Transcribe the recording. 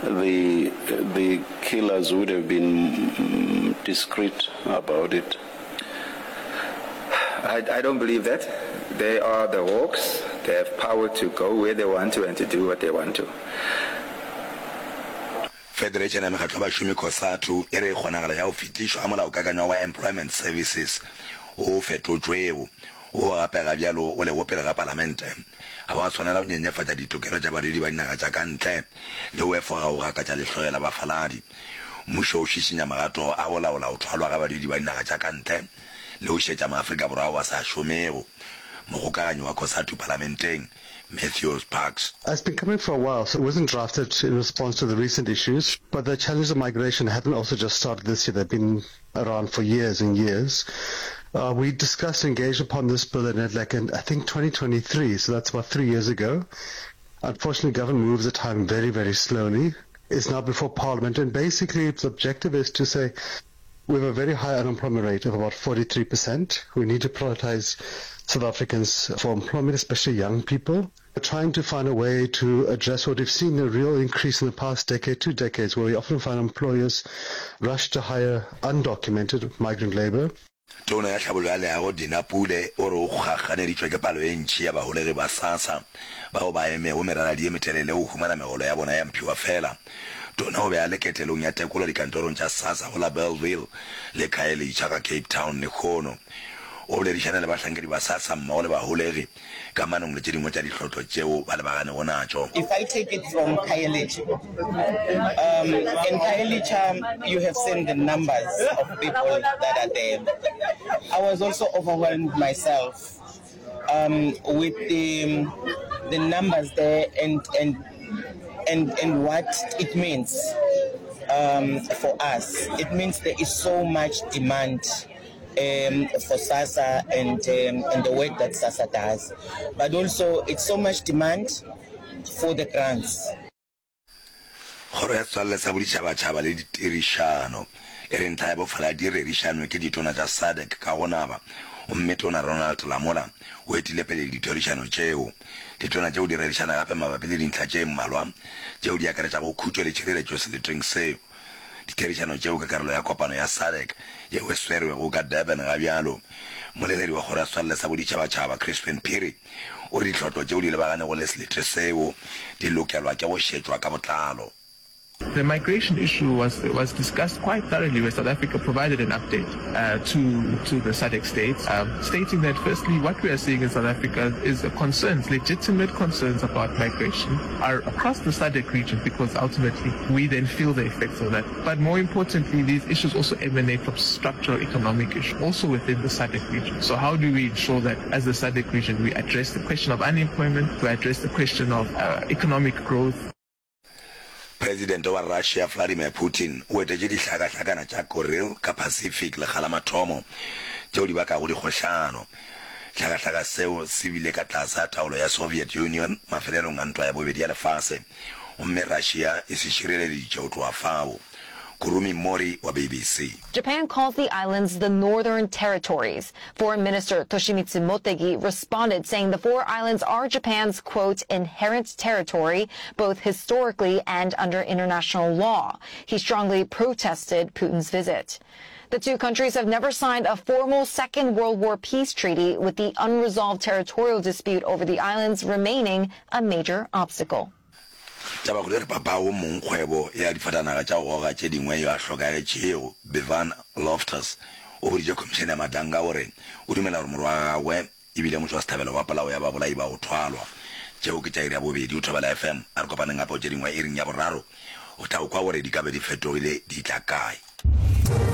The the killers would have been discreet about it. I, I don't believe that. They are the hawks. They have power to go where they want to and to do what they want to. Federation ya Mekgatlo ya Bašomi, Cosatu, e re kgonagalo ya go fetišwa ga molaokakanywa wa Employment Services wo o fetotšwego, wo gape ga bjalo o lego pele ga Palamente, ga wa swanela go nyenyefatša ditokelo tša badudi ba dinaga tša ka ntle le go efoga go gakatša lehloyo la bafaladi. Mmušo o šišinya magato a go laola go thwalwa ga badudi ba dinaga tša ka ntle le go šetša maAfrika Borwa ao a sa šomego. Mogokaganyi wa Cosatu Palamenteng, Matthews Parks. It's been coming for a while, so it wasn't drafted in response to the recent issues, but the challenges of migration haven't also just started this year, they've been around for years and years. Uh, we discussed and engaged upon this bill in NEDLAC in, I think, 2023, so that's about three years ago. Unfortunately, government moves the time very, very slowly. It's now before Parliament, and basically its objective is to say we have a very high unemployment rate of about 43%. We need to prioritize South Africans for employment, especially young people. We're trying to find a way to address what we've seen a real increase in the past decade, two decades, where we often find employers rush to hire undocumented migrant labor. Tona ya Tlhabollo ya Leago Dina Pule o re o kgakganeditšwe ke palo e ntši ya baholegi ba SASSA bao ba emego meraladi ye metelele go humana megolo ya bona ya mphiwafela. Tona o be a le ketelong ya tekolo dikantorong tša SASSA go la Bellville le Khayelitsha ka Cape Town lehono. O boledišane le bahlankedi ba SASSA mmogo le baholegi kamanong le tše dingwe tša dihlotlo tšeo ba lebaganego natšo. If I take it from Khayelitsha, um, in Khayelitsha you have seen the numbers of people that are there. I was also overwhelmed myself um, with the, the numbers there and, and, and, and what it means um, for us. It means there is so much demand um, for SASSA and, um, and the work that SASSA does. But also, it's so much demand for the grants. Kgoro ya Setswalle sa Boditšhabatšhaba le Ditirišano e re ntlha ya bofaladi e rerišanwe ke ditona tša SADC ka go naba gomme Tona Ronald Lamola o etile pele ditherišano tšeo. Ditona tšeo di rerišana gape mabapi le dintlha tše mmalwa tšeo di akaretšago khutšo le tšhireletšo seleteng seo. Ditherišano tšeo ke karolo ya kopano ya SADC yeo e swerwego ka Durban ga bjalo. Mmoleledi wa Kgoro ya Setswalle sa Boditšhabatšhaba, Crispin Phiri, o re ditlhotlo tšeo di lebaganego le selete seo di lokelwa ke go šetšwa ka botlalo. The migration issue was was discussed quite thoroughly where South Africa provided an update uh, to to the SADC states, um, stating that firstly what we are seeing in South Africa is concerns, legitimate concerns about migration are across the SADC region because ultimately we then feel the effects of that. But more importantly, these issues also emanate from structural economic issues, also within the SADC region. So how do we ensure that as the SADC region we address the question of unemployment, we address the question of uh, economic growth? Presidente wa Russia Vladimir Putin o etetše dihlakahlakana tša Kuril ka Pacific lekga la mathomo tšeo di bakago dikgohlano. Hlakahlaka seo se bile ka tlase ga taolo ya Soviet Union mafelelong a Ntwa ya Bobedi ya Lefase gomme Russia e se šireleditše go tloga fao. Kurumi Mori wa BBC. Japan calls the islands the Northern Territories. Foreign Minister Toshimitsu Motegi responded saying the four islands are Japan's, quote, inherent territory, both historically and under international law. He strongly protested Putin's visit. The two countries have never signed a formal Second World War peace treaty, with the unresolved territorial dispute over the islands remaining a major obstacle. Tabakgolo e re papago mongkgwebo ya difatanaga tša go goga tše dingwe yo a hlokagetšego, Bevan Loftus, o boditše Khomišene ya Madlanga gore o dumela gore morwa wa gagwe e bile motšwasehlabelo wa polao ya babolai ba go thwalwa. Tšeo ke tša iri ya bobedi go Thobela FM. A re kopaneng gape go tše dingwe iring ya boraro. O tla kwa gore di ka be di fetogile di tla kae.